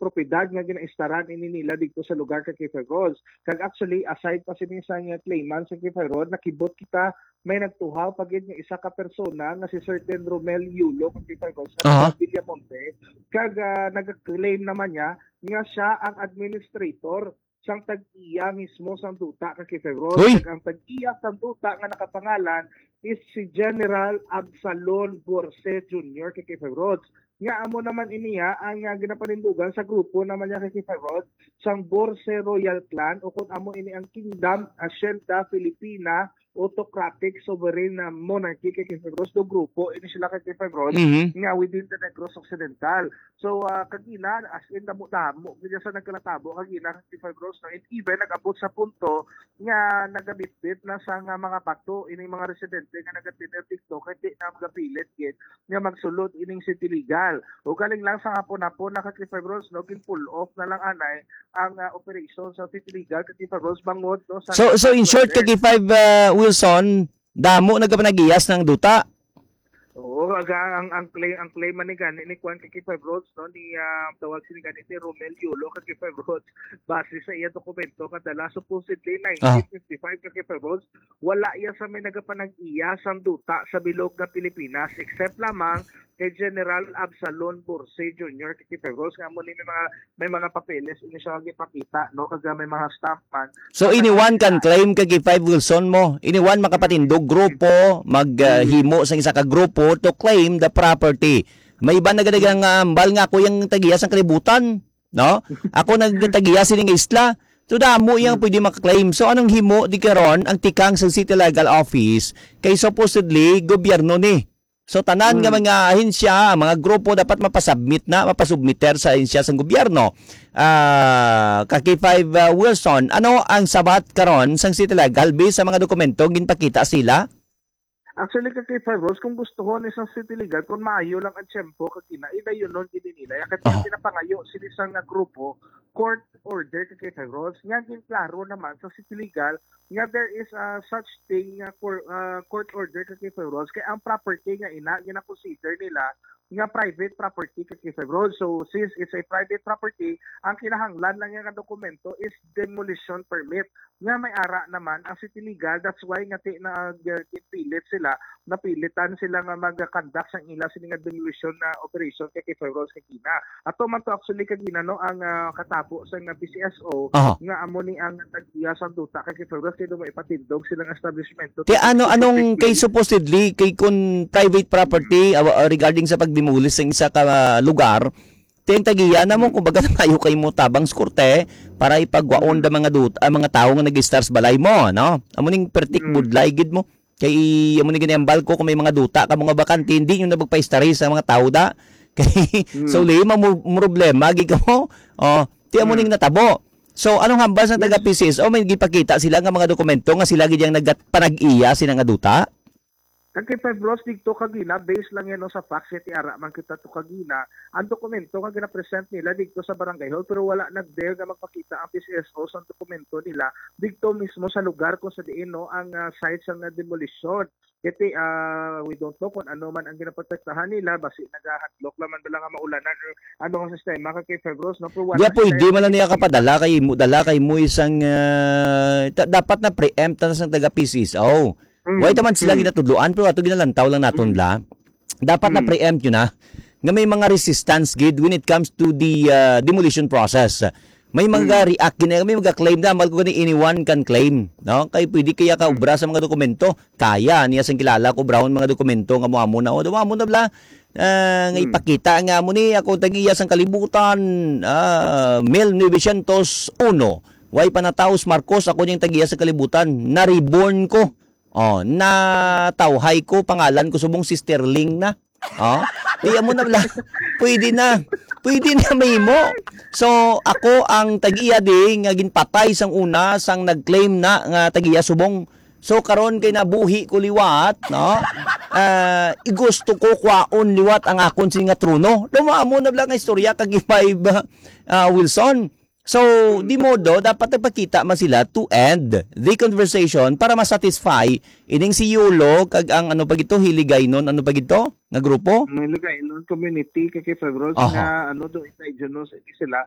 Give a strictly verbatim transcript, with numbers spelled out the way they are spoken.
propiedad nga ginaistaran ini nila dito sa lugar, ka K five Rods. Kag actually, aside pa sini sa nga claimants, ka K five Rods, nakibot kita, may nagtuhaw pa gid nga isa ka persona nga si Certain Romel Yulo, ka K five Rods, sa Aha. Taga Villamonte. Kag, ah, nag-claim naman niya nga siya ang administrator sang tag-iya mismo sang duta, ka K five Rods. Uy! Kag ang tag-iya sang duta nga nakapangalan is si General Absalon Borse Junior, ka K five Rods. Nga amo naman ini, ha, ang, ah, ginapanindugan sa grupo naman niya, ka K five Rods, sang Borse Royal Clan, o kung amo ini ang Kingdom, Hacienda Filipina, Autocratic Sovereign na Monarchy, ka K five Rods, do grupo ini sila, ka K five Rods, Mhm. nga within the Negros Occidental. So, ah, kagina, as in, damo-damo gid sa nagkalatabo kagina, ka K five Rods, no? And even nag-abot sa punto nga nagabitbit na sa nga mga bato ining mga residente nga nagatinder dito, kay di na magapilit gid nga magsulod ining City Legal. O galing lang sa hapon-hapon na, ka K five Rods, no, gin-pull off na lang anay ang, ah, operation sa City Legal, ka K five Rods, bangod, no, sa So, so in short, ka K five, uh, Wilson, damo nagapanag-iyas ng duta. Oo, aga, ang, ang claim, ang claim man ni gani ni Kwan, ka K five Rods, no, ni, ah, tawag sini gani ni Romel Yulo, ka K five Rods, base sa iya dokumento nga dala, supposedly Ah. nineteen fifty-five, ka K five Rods, wala iya sa may nagapanag-iya sang duta sa bilog nga Pilipinas, except lamang kay General Absalon Borse Junior, ka K five Rods, nga amo ni may mga, may mga papeles ini siya gipakita, no, kag may mga stamp man. So, anyone can claim, ka K five Wilson, mo? Anyone makapatindog grupo, mag, ah, Mm. himo sang isa ka grupo to claim the property. May iba nagadagang, ah, hambal nga ako yung tag-iya sang kalibutan, no? Ako nagtag-iya sini nga isla. So, damo yang Mm. pwede makaklaim. So, anong himo di karon ang tikang sa City Legal Office kay supposedly gobyerno ni? So, tanan nga Mm. mga ahensya, mga grupo dapat mapasubmit na, mapasubmiter sa ahensya sang gobyerno. Ah, ka K five, ah, Wilson, ano ang sabat karon sang City Legal based sa mga dokumento ginpakita sila? Actually, ka K five Rods, kung gustuhon ni sa City Legal, kung maayo lang ang tiyempo, kagina, idayunon gid nila. Ya, kaya Aha. pinapangayo sila sa nga grupo, court order, ka K five Rods. Nga, ginklaro naman sa City Legal, nga there is a such thing nga cour-, ah, court order, ka K five Rods. Kaya ang property nga ina, gina-consider nila nga private property, ka K five Rods. So, since it's a private property, ang kinahanglan lang nga dokumento is demolition permit. Nga may ara naman ang City Legal. That's why nga ti-, nag-, uh, pilit sila, napilitan sila nga mag-conduct sang ila sini nga demolition na operation, ka K five Rods, kagina. Ato man to actually kagina, no, ang, ah, katabo sa nga P C S O Aha. nga amo ni ang tag-iya sang duta, ka K five Rods, kay do may ipatindog sila nga establishment. Kaya ano, anong kay supposedly, kay kung private property, ah, ah, regarding sa pagdemolish sa isa ka, ah, lugar, Ti ang tag-iya na mo, Mm. kumbaga, maayo kay mo tabang sa korte para ipagwaon Mm. da mga dut-, ang mga tawo nga nag-istar sa balay mo, no? Amo ning pertik Mm. budlay gid mo. Kay amo ni ginambal ko kung may mga duta ka mga bakante, hindi nyo na magpaistari sa mga tawo da. Kay Mm. so lima mo problema gid kamo. Oh, ti amo Mm. ning natabo. So anong hambal sa Yes. taga P C S O? May gipakita sila nga mga dokumento nga sila gid yang nagpanag-iya sila nga duta? Kag kay Five Bros, digto kagina, based lang yan, no, sa facts, kay ara man kita to kagina, ang dokumento nga gina-present nila digto sa barangay hall, pero wala nagdare nga magpakita ang P C S O sa dokumento nila digto mismo sa lugar kung sa diin, no, ang, ah, site sa nga demolisyon. Kay, ah, we don't know kung ano man ang ginaprotektahan nila, basi nagahadlok lang man bala nga maulanan or ano ang sistema kay Five Bros, no? Pero wala Di, pwede sila man lang niya nagpakita. kapadala kay mo, dala kay mo isang, ah, ta-, dapat na preempt na sang taga P C S O. Mm, Why taman sila mm. ginatudloan, pero ato ginalantaw lang naton Mm. la. Dapat na Mm. preempt yun, ha, nga may mga resistance gid when it comes to the, uh, demolition process. May mga Mm. react gina, may mga claim na, mal ko gani, anyone can claim, no? Kay pwede kaya ka Mm. obra sa mga dokumento. Kaya niya sang kilala ko, obrahon mga dokumento nga mo amo na, o, amo na bla, ah, nga Mm. ipakita nga mo ni, ako tag-iya sang kalibutan, ah, mil novecientos uno. Way pa nataos Marcos, ako niyang tag-iya sa kalibutan. Na-reborn ko. Oh, natawhay ko, pangalan ko subong si Sterling na. Oh, iya mo na bla. Pwede na. Pwede na mahimo. So, ako ang tag-iya di nga ginpatay sang una, sang nag-claim na nga tag-iya subong. So, karon kay nabuhi ko liwat, no? Ah, igusto ko kwaon liwat ang akon sini nga trono. Duma mo na bla nga istorya kag Five, ah, Wilson. So, Mm. di modo, dapat nagpakita man sila to end the conversation para ma-satisfy ining si Yulo kag ang ano pa gito, Hiligaynon, ano pa gito nga grupo? Ang Hiligaynon community, kay Five Bros, Aha. nga ano, do indigenous, hindi sila.